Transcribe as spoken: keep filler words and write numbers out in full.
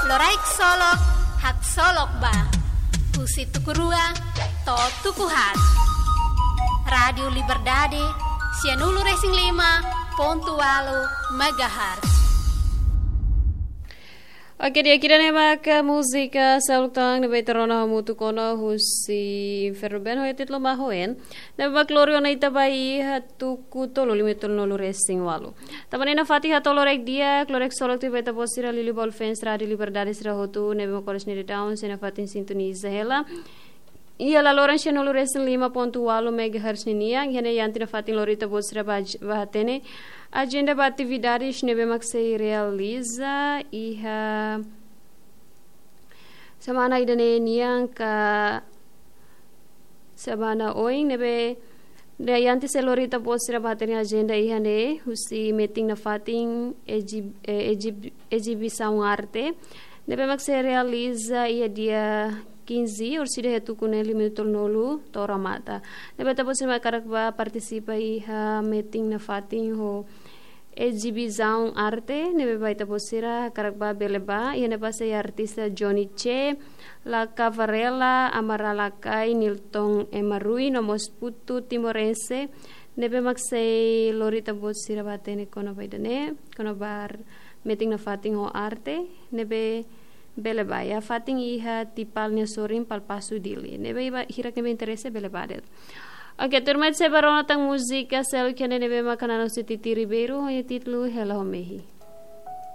Loraik Solok, Haksolok Ba. Husi tuku rua to'o tuku haat. Rádiu Liberdade, sianulu-resin-lima pontu ualu megahertz. Oke, di'ak, ida-ne'e mak múzika seluk tan ne'ebé ita rona hamutuk ona husi Inferno Band ho títulu Mahoen. Ne'ebé mak lori ona ita ba iha tuku tolu, lima tolu nulu resin walu. Tanba ne'e nafatin hato'o loraik di'ak, loraik solok tiha ba ita-boot sira Lili Ball Fans Rádiu Liberdade sira hotu, ne'ebé mak oras ne'e daudaun sei nafatin sintoniza hela iha laloran sianulu-resin-lima pontu ualu megahertz ninian, iha ne'e Yanti nafatin lori ita-boot sira ba, ba hatene ajenda ba atividades ne'ebé mak sei realiza iha semana ida-ne'e nian ka semana oin, ne'ebé Yanti sei lori ita-boot sira ba hatene ajenda iha ne'e, husi metin nafatin eji-, eh, eji-, ezibisaun arte ne'ebé mak sei realiza iha dia quinze, orsida iha tuku neen lima tolu nulu to'o remata. Ne'ebé ita-boot sira mak hakarak ba partisipa iha metin nafatin ho ezibisaun arte ne'ebé ba ita-boot sira hakarak ba bele ba, iha ne'ebá sei artista Johnny Che, Laka Varela, Amara Lakai, Nilton Emarui, no mós Putu Timorense, ne'ebé mak sei lori ita-boot sira ba hatene kona-ba ida-ne'e, kona-ba metin nafatin ho arte ne'ebé bele ba iha fatin iha Tipal nia sorin Palpasu Dili. Ne'ebé iha hirak ne'ebé interese bele ba de'it. Oke, tuirmai ita sei ba rona tan múzika seluk iha ne'e, ne'ebé mak hanesan husi Titi Ribeiro, ho títulu Hela ho Mehi.